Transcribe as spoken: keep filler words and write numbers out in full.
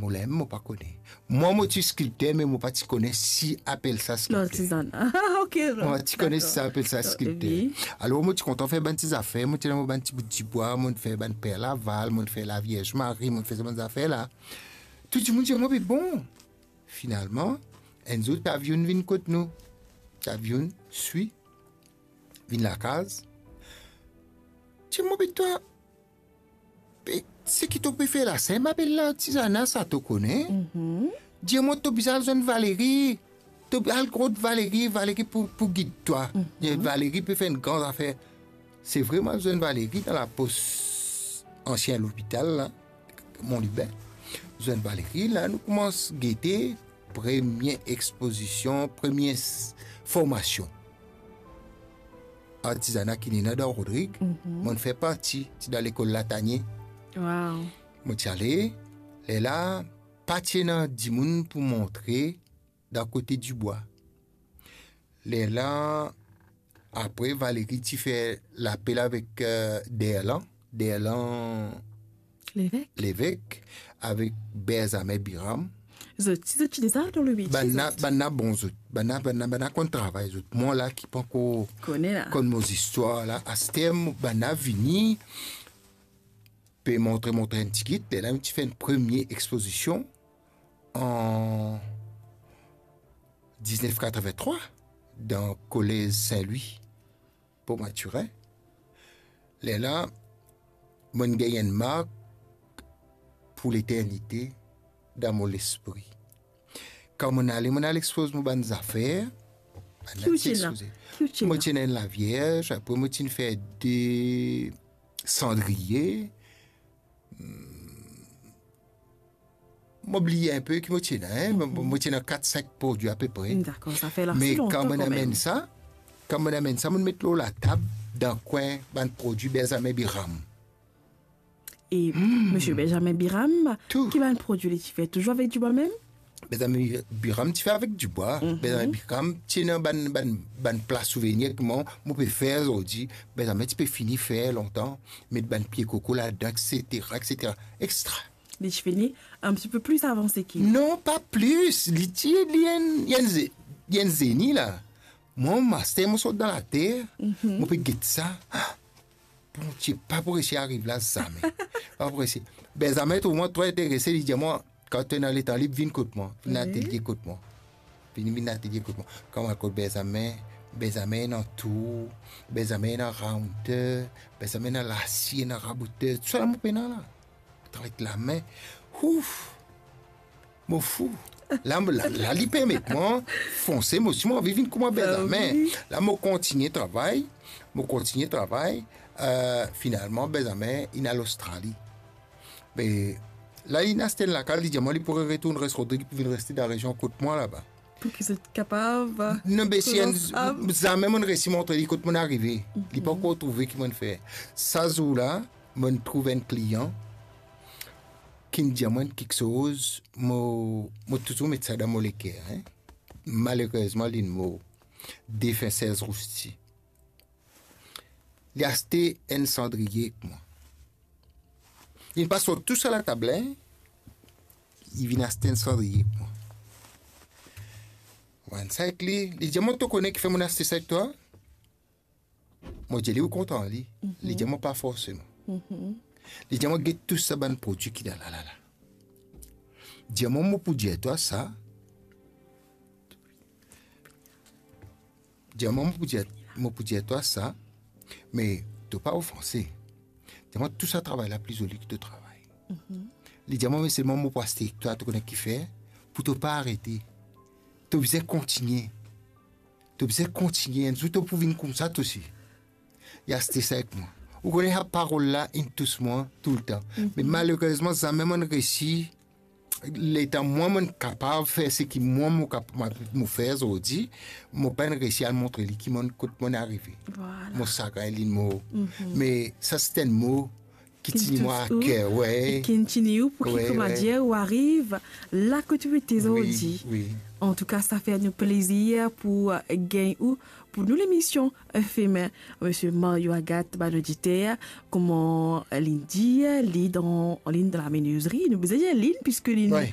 problem, mo pa kone. Mwa, mo ti skilpter, me mo pa ti kone si apel sa skilpter. L'artisanat. Ok, non. Mo pa ti kone si sa apel sa skilpter. Alor, mo ti kontan fer bann ti zafer, mo ti dan mo bann ti bout dibwa, mo fer bann per laval, mo fer Lavierz Mari, mo fer sa bann zafer la. Tou dimoun dir mwa, be bon. Finalman, enn zour, Tavion vinn kot nou. Tavion swi, vinn lakaz. Dir mwa, be twa, be, seki to pe fer la, sa enn apel lartizana sa, to kone? Dir mwa, to bizin al zwenn Valérie. To al kot Valérie, Valérie pou, pou gid twa. Valérie pe fer enn gran zafer. Se vre, mo al zwenn Valérie dan lapos ansien lopital la, Mont Lubin. Zwenn Valérie la, nou koumans gete premie expozision, premie s-, formasion artizana ki ena dan Rodrig, mo'nn fer parti, ti dan lekol Latanie. Mo ti ale, lerla pa ti ena dimoun pou montre dan kote dibwa. Lerla, apre, Valérie ti fer lapel avek, eh, Derlan, Derlan Levek, avek Benjamin Biram. Zot ti, zot ti deza dan le metie, bann la, zot? Bann la bon zot. Bann la, bann la, bann la konn travay zot. Mwa la ki pankor konn mo zistwar la, aster mo, bann la vini, pe montre, montre enn tigit. Lerla nou ti fer enn premie expozision an diznef katreventrwa dan Kolez Sin Lwi, Port Mathurin. Lerla, mo'nn gagn enn mark pou leternite dan mo lespri. Kan mo'nn ale, mo'nn al expoz mo bann zafer, bann la ti expoze. Ki ou ti ena? Mo ti ena enn lavierz, apre mo ti fer de sandriye. Hmm, mo bliye enpe ki mo ti ena, hein. Mo, mo ti ena kat, sink prodwi apepre. Dakor, sa fer la lontan kanmem. Me kan mo'nn amenn sa, kan mo'nn amenn sa, mo'nn met lor latab, dan kwin, bann prodwi Benjamin Biram. E Misie Benjamin Biram, ki bann prodwi li ti fer, touzour avek dibwa mem? Benjamin Biram ti fer avek dibwa. Benjamin Biram ti ena bann, bann, bann pla souvenir ki mwa, mo pe fer zordi. Benjamin ti pe fini fer lontan, met bann pie koko ladan, et cetera, et cetera. Extra. Li ti fini un petit peu plus avanse ki ou. Non, pa plis. Li ti, li enn, li enn ze-, li enn zeni la. Mwa, master, mo sort dan later, mo pe get sa. Bondie, pa pou resi ariv la zame. Pa pou resi. Benjamin trouv mwa tro interese, li dir mwa, kan to ena letan lib, vinn kot mwa, vinn atelie kot mwa. Vinn, vinn atelie kot mwa. Kan mo al kot Benjamin, Benjamin ena tour, Benjamin ena raounter, Benjamin ena lasie, ena raboter, tousala mo pena la. Travay ek lame. Ouf! Mo fou. La, la, la, li permet mwa fonse, mo si mo anvi vinn kouma Benjamin. La, mo kontigne travay, mo kontigne travay. Eh, finalman, Benjamin, inn al Ostrali. Me la, inn aste enn lakaz, li dir mwa, li pou retourn res Rodrig, pou vinn reste dan rezion kot mwa laba. Pou ki zot kapav... Non, be si enn, zame mo'nn resi montre li kot mo'nn arive. Li pankor trouve ki mo'nn fer. Sa zour la, mo'nn trouv enn klian ki'nn dir mwa enn kiksoz, mo, mo touzour met sa dan mo leker, hein. Malerezman, li'nn mor. Defin Serge Rousti. Li aste enn sandriye ek mwa. Li'nn pa sort tou sa latab la, hein. Li vinn aste enn sandriye ek mwa. Mo vann sa ek li, li dir mwa, to kone kifer mo'nn aste sa ek twa? Mo dir li, ou kontan li? Li dir mwa, pa forseman. Li dir mwa, get tou sa bann prodwi ki ena la, la, la. Dir mwa, mo pou dir twa sa. Dir mwa, mo pou dir, mo pou dir twa sa, me to pa ofanse. Dir mwa, tou sa travay la pli zoli ki to travay. Li dir mwa, me selman mo pou aste ek twa, to kone kifer? Pou to pa arete. To bizin kontigne. To bizin kontigne, enn zour to pou vinn koumsa twa osi. Li aste sa ek mwa. Ou kone sa parol la, inn tous mwa toultan. Me malerezman, zame mo'nn resi, letan mwa mo'nn kapav fer seki mwa mo kap-, mo, mo fer zordi, mo pa'nn resi al montre li ki mo'nn, kot mo'nn arive. Vwala. Mo sagrin, li'nn mor. Me sa, se enn mo ki tini mwa aker, wi. Ki tini ou, pou ki, koumadir, ou ariv la kot ou ete zordi. Wi, wi. Antouka, sa fer nou plezir pou, eh, gagn ou pou nou lemision, eh, Femen, Misie Mario Agathe, bann oditer, kouma, eh, li'nn dir, li dan, li dan lamenizri, nou bizin dir li, piski li, wi,